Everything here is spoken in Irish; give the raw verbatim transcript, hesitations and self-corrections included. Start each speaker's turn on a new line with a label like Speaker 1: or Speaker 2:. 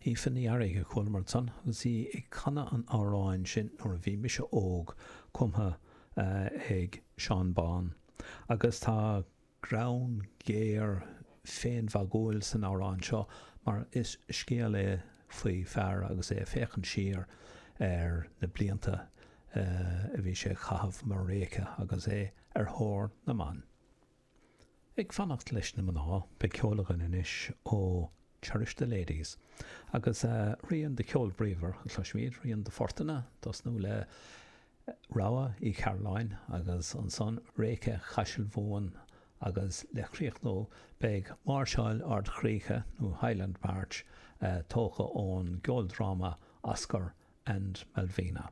Speaker 1: Aoife Ní Fhearraigh a chualamar ansan agus í ag canadh an amhráin sin Nuair a Bhí Mise Óg, cumtha ag Seán Bán. Agus tá greann géar féinmhagúil san amhrán seo mar is scéal é faoi fear agus é ag féachaint siar ar na blianta a bhí sé a chaitheamh mar réice agus é ar thóir na mban. Ag fanacht leis na mná, beidh ceol againn anois ó Cherish the Ladies agus rian de cheol bríomhar a chloisfimid, rian de phortanna, tosnú le Rogha Uí Chearúlláin agus ansan Réice Chaisil Mhumhan agus le críochnú beidh Máirseáil Ardchríche nó Highland March tógtha ón gceoldráma Oscar and Malvina.